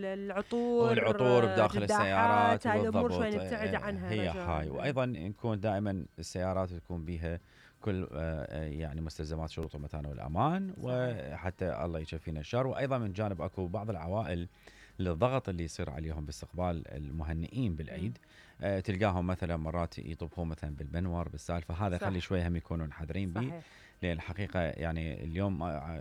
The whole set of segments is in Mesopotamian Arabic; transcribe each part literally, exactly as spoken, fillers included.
العطور والعطور بداخل السيارات هاي بالضبط. الامور شوي نبتعد عنها هي رجاء. هاي. وايضا نكون دائما السيارات تكون بها كل يعني مستلزمات شروط المتانه والامان، وحتى الله يشفينا الشر. وايضا من جانب اكو بعض العوائل للضغط اللي يصير عليهم باستقبال المهنئين بالعيد، آه تلقاهم مثلا مرات يطبخون مثلا بالبنور بالسالفه، هذا يخلي شوي هم يكونون حذرين به. لان الحقيقه يعني اليوم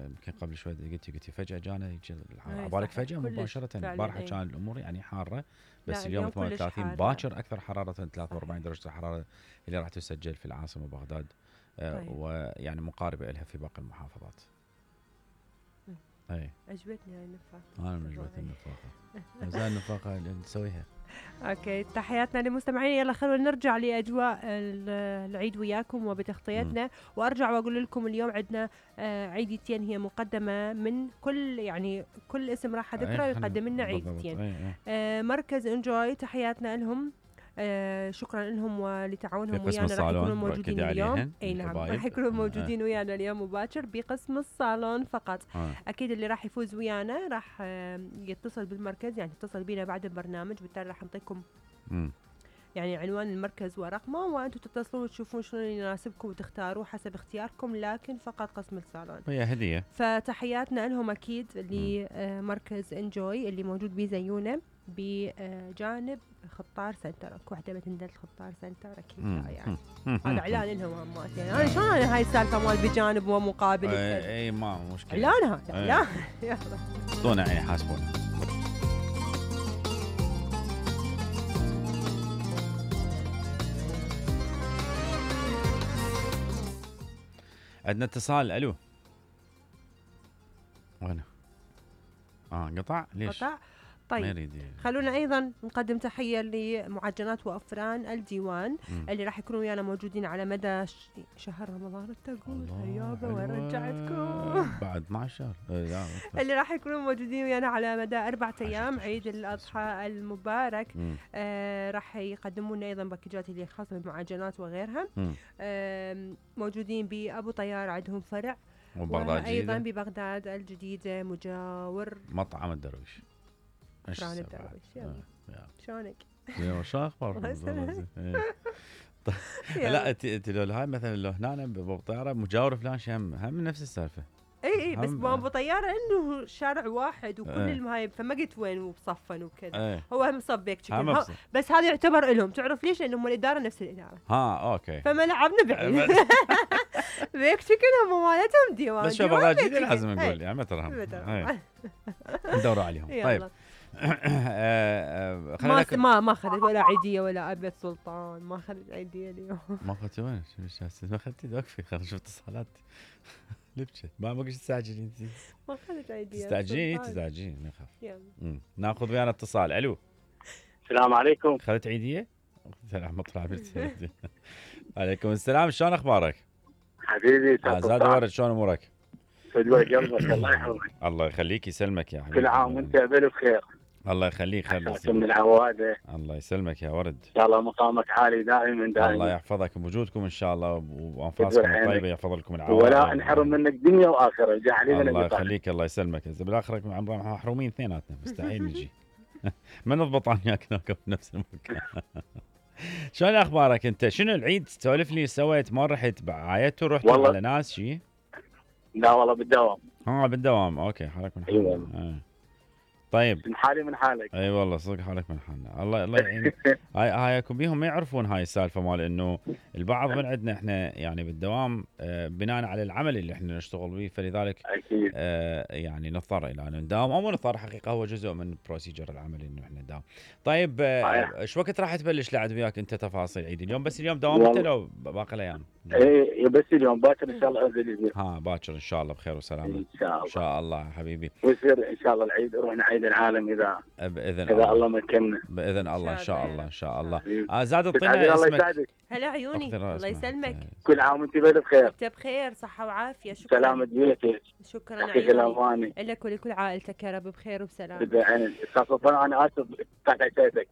يمكن قبل شوي قلتي قلتي فجاه جانا عبالك فجاه مباشره. البارحه كان الامور يعني حاره، بس اليوم ثمانية وثلاثين باكر اكثر حراره ثلاثة وأربعين درجه الحراره اللي راح تسجل في العاصمه بغداد، آه ويعني مقاربه لها في باقي المحافظات. اي عجبتني هاي النفاقه. انا عجبتني النفاقه. زين النفاقه اللي نسويها. اوكي تحياتنا للمستمعين. يلا خلونا نرجع لاجواء العيد وياكم وبتغطيتنا، وارجع واقول لكم اليوم عندنا عيدتين هي مقدمه من كل يعني كل اسم راح اذكره يقدم لنا عيدتين. مركز انجوي تحياتنا لهم، آه شكرا لهم ولتعاونهم ويانا. راح يكونوا موجودين اليوم. اي نعم راح يكونوا موجودين آه. ويانا اليوم مباشر بقسم الصالون فقط. آه. اكيد اللي راح يفوز ويانا راح آه يتصل بالمركز، يعني يتصل بينا بعد البرنامج، بالتالي راح نعطيكم يعني عنوان المركز ورقمه، وانتم تتصلون وتشوفون شنو اللي يناسبكم وتختاروا حسب اختياركم، لكن فقط قسم الصالون. هي هديه. فتحياتنا لهم اكيد لمركز انجوي اللي موجود بزيونه بجانب خطار سنتر. اكو وحده بتندل خطار سنتر اكيد يعني هذا اعلان لهم همات. يعني انا شلون انا هاي السالفه مال بجانب ومقابل؟ اي اي ما مشكله اعلان هذا اعلان. يلا اعطونا عيني حاسبونا. عندنا اتصال. الو وين؟ اه قطع ليش؟ قطع. طيب خلونا ايضا نقدم تحيه لمعجنات وافران الديوان م. اللي راح يكونوا ويانا موجودين على مدى ش... شهر رمضان. تقول هيابه وين رجعتكم بعد اثناشر شهر اللي راح يكونوا موجودين ويانا على مدى أربعة ايام عيد الاضحى المبارك. آه راح يقدموا لنا ايضا باكجات اللي خاصه بالمعجنات وغيرها. آه موجودين بابو طيار، عندهم فرع وايضا ببغداد الجديده مجاور مطعم الدرويش. فران الدرويش. يلا شلونك؟ يا شو اخبارك؟ لا انت لو هاي مثلا لو هنا بابو طياره مجاور فلان هم هم نفس السالفه. اي اي بس بابو طياره انه شارع واحد وكل المهايب، فما قلت وين وبصفن وكذا. هو هم صبيك تشكل، بس هذا يعتبر لهم. تعرف ليش؟ لانهم الاداره نفس الاداره. ها اوكي. فما لعبنا بعيد. بيك شكل هم مالتهم ديوان. بس شو بغداد جديد لازم نقول يعني ما ترهم. ندوروا عليهم. طيب ما ما ما اخذت ولا عيديه ولا ابيض سلطان. ما اخذت عيديه اليوم. ما اخذت وين؟ شو ما اخذتي؟ وقفي خلينا نشوف اتصالات. لبشه ما بقيش تستعجلين انت. ما اخذت عيديه. تستعجلين تستعجلين نخاف. يلا ناخذ ويانا اتصال. الو السلام عليكم. اخذت عيديه؟ سلام مطلع عليكم السلام. شلون اخبارك حبيبي؟ زاد ورد شلون امورك؟ فدوى قلبك الله يحفظك. الله يخليك يسلمك يا حبيبي. كل عام وانت بالف خير. الله يخليك. خير من العواده. الله يسلمك يا ورد. ان شاء الله مقامك عالي دائما دائما. الله يحفظك بوجودكم ان شاء الله وانفاسكم الطيبه يحفظ لكم العوائل. ولا نحرم منك دنيا واخره. جعلنا الله يخليك. الله يسلمك. اذا بالاخره محرومين اثنيناتنا مستحيل نجي. ما نضبط وياك نوقف بنفس المكان. شلون اخبارك انت؟ شنو العيد؟ سولف لي سويت ما رحت عايدت ورحت على ناس شيء؟ لا والله بالدوام. اه بالدوام. اوكي حالك من حالك. ايوه آه. طيب من حالي من حالك. اي أيوة والله صدق حالك من حالنا. الله الله يعينك. هاي هايكم بيهم ما يعرفون هاي السالفه مال انه البعض من عندنا احنا يعني بالدوام آه بناء على العمل اللي احنا نشتغل به، فلذلك اكيد آه يعني نضطر الى ان نداوم او مو نضطر، حقيقه هو جزء من بروسيجر العمل انه احنا نداوم. طيب ايش آه وقت راح تبلش لعد وياك انت تفاصيل عيد اليوم؟ بس اليوم داوم انت لو باقي الايام؟ اي بس اليوم باكر ان شاء الله انزل. ها باكر ان شاء الله بخير وسلامه. ان شاء الله. ان شاء الله حبيبي. ويصير ان شاء الله العيد نروح عيد العالم اذا باذن اذا الله, الله مكننا باذن الله. ان شاء الله ان شاء الله. آه زاد الطينه اسمك. هلا عيوني الله يسلمك. كل عام وانت بخير. انت بخير صحه وعافيه. شكرا. سلامة بيتك. شكرا عيوني لك ولكل عائلتك يا رب بخير وبسلام. خاصة انا اسف قطعت عيشتك.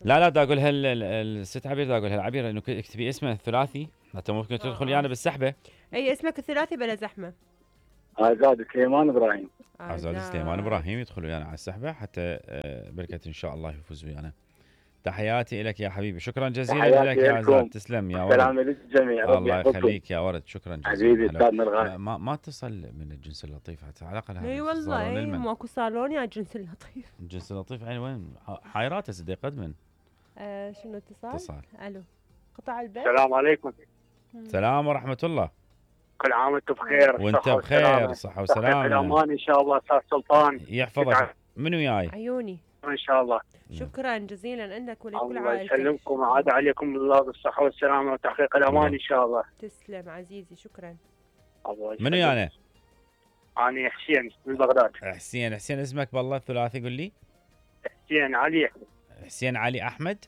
لا لا دا اقول هال الست عبير دا اقول هالعبير انه اكتبي اسمه الثلاثي حتى ممكن تدخلي انا بالسحبه. اي اسمك الثلاثي بلا زحمه. آزاد سليمان إبراهيم. عزاد سليمان ابراهيم يدخل ويانا على السحبه حتى آه، بركه ان شاء الله يفوز ويانا. تحياتي لك يا حبيبي، شكرا جزيلا تحياتي لك يا لكم. عزاد، تسلم يا ولد. سلام للجميع، ربي الله يحفظكم. يخليك يا ولد، شكرا جزيلا. حبيبي هلا. استاذنا الغالي. ما ما اتصل من الجنس اللطيف حتى على الاقل هذا اي صالون والله اي المن. ماكو صالون يا جنس اللطيف. الجنس اللطيف يعني وين حايراته سدي قدمن. آه شنو اتصال؟ اتصال. الو قطع البث. السلام عليكم. سلام ورحمه الله. كل عام وانتم بخير. وانت صحة بخير، والسلامة. صحه تحقيق وسلامه. الامان ان شاء الله استاذ سلطان. يحفظك. منو جاي؟ عيوني. ان شاء الله. شكرا جزيلا لك ولكل الله عائلتك. يسلمكم وعاد عليكم الله بالصحة والسلامة وتحقيق الامان ان شاء الله. تسلم عزيزي، شكرا. الله منو يسلمك. يعني؟ انا حسين من بغداد. حسين. حسين اسمك بالله الثلاثي قول لي. حسين علي يحيى. حسين علي احمد.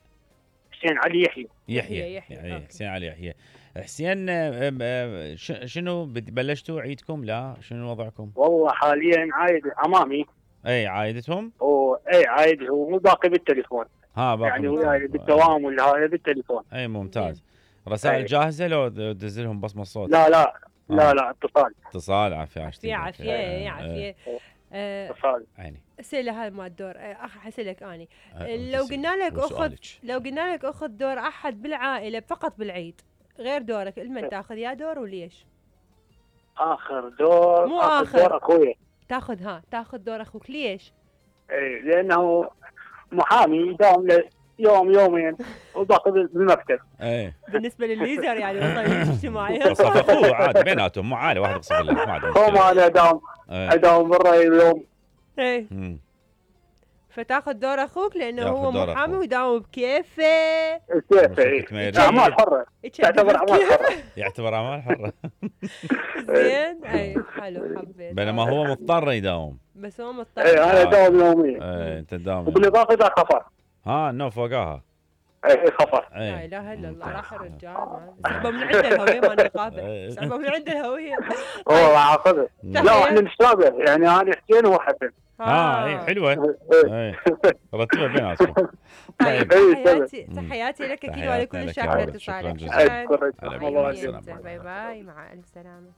حسين علي يحيى. يحيى. يحيى، يعني أوكي. حسين علي يحيى. حسين آه، آه، ش- شنو بد- بلشتوا عيدكم؟ لا شنو وضعكم؟ والله حاليا عايد امامي اي عايدتهم؟ واي عايد هو مو باقي بالتليفون. ها باقي يعني بالتليفون. وياي بالدوام ولا هذا بالتليفون. اي ممتاز. رسائل أي. جاهزه لو د- دز لهم بصمه صوت؟ لا لا آه. لا لا اتصال اتصال. عافيه عافية عافية آه، عافية. آه، اتصال. عيني. اسئله هذا ما الدور. آه، اخ حسلك اني. آه، لو قلنا لك اخذ وسؤالك. لو قلنا لك اخذ دور احد بالعائله فقط بالعيد غير دورك، لمن تاخذ يا دور وليش؟ اخر دور مو اخر آخر. دور اخوي. تاخذ ها تاخذ دور اخوك ليش؟ اي لانه محامي يداوم له يوم يومين وباقي بالمكتب. ايه بالنسبه للليزر يعني وصل اجتماعي. قصف اخوه عادي بيناتهم، مو عالي واحد يقصف الله، ما عندهم هو مشكله. ما انا اداوم إيه. اداوم برا يوم. ايه مم. فتاخذ دور اخوك لانه ياخذ هو دور محامي أخوه. ويداوم بكيفه. كيف اي شركة ميري. اعمال حره تعتبر اعمال كيف؟ حره. يعتبر اعمال حره. زين اي حلو حبيت. بينما هو مضطر يداوم. بس هو مضطر. اي انا اداوم يوميا ايه انت تداوم. وبالاضافه اذا خفر. ها نو فوقاها. اي خفر. لا ايه اله الا الله، ممتاز. راح الرجال ما- سحبه من عنده الهويه ما نقابل، سحبه من عنده الهويه. هو راح اخذه. نعم. لا احنا نتشابه يعني انا حسين وهو حسن. اه اي حلوه. إيه. ايه رتبها بيناتكم. طيب إيه، تحياتي مم. تحياتي لك اكيد تحياتنا ولكل لك يا الشعب على ولد. شكراً اتصالك. جزيلاً. شكرا. أشكرك. هلا الله بك. يسلمك. السلام. باي باي مع الف سلامه.